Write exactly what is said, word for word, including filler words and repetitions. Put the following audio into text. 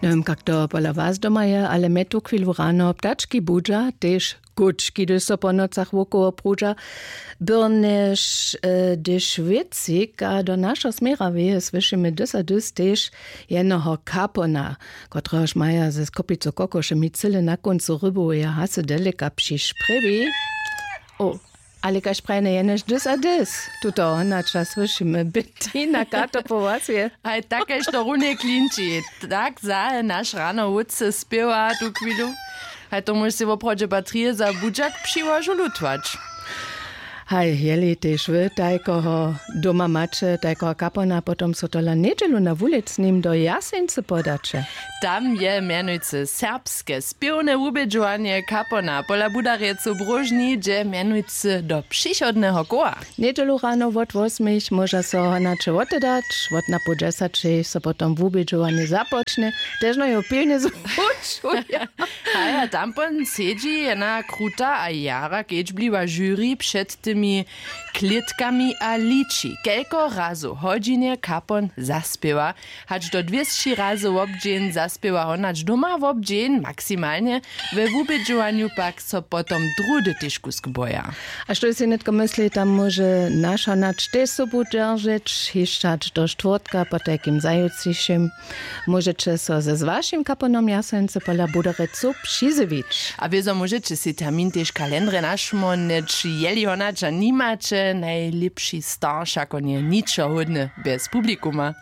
Njewěm kak to pola was doma je, ale mje tuchwilu rano ptački budźa, tež kučki hdyž so po nocach wokoło prudźa. Byrnjež hdyž wěcik a do našeho směra wěje słyšimy dys a dys tež jenoho kapona, kotrehož maja ze skopicu kokošemi cyle na kóncu ryboweje hasy deleka přišprěwi. O, ale kaž prajene jenož dys a dys. Tuto honača słyšimy bytina kato po was je. Haj tak kaž to runje klinči. Tak zahe naš rano wótce spěwa tu chwilu. Haj to móžeš sej woprawdźe batrije za budźak přiłožu lutwać. Haj jeli tež wy tajkoho doma maće tajkoho kapona potom so tola njedźelu na wulecnim do jaseńcy podaće. Tam je mjenujcy serbske spěwne wubědźowanje kapona pola budarjecu bróžni dźe mjenujcy do přichodneho koła. Njedźelu rano wot wosmich móža so honaće wotedać wot na poł dźesaćej so potom wubědźowanje započne. Tež no jo pilnje zwučuja. Haja tampon sedźi jena kruta a jara kedźbliwa žuri před tymi klětkami a liči kelko razow hodźinje kapon zaspěwa. Hač do dwěsći razy wobdźeń zaspěwa honać doma wobdźeń maksimalnje. We wubědźowanju pak so potom druhdy tež kusk boja. A što sej nětko mysli tam móže naš honać tež sobu dźeržeć hišćać do štwórtka potajkim zajutřišim. Móžeće so z wašim kaponom jaseńcy pola budarecu přizjewić. A wězo móžeće sej termin tež kalendrje našmónjeć jeli honaća nimaće najlěpši starša konje ničo hódny bjez publikuma.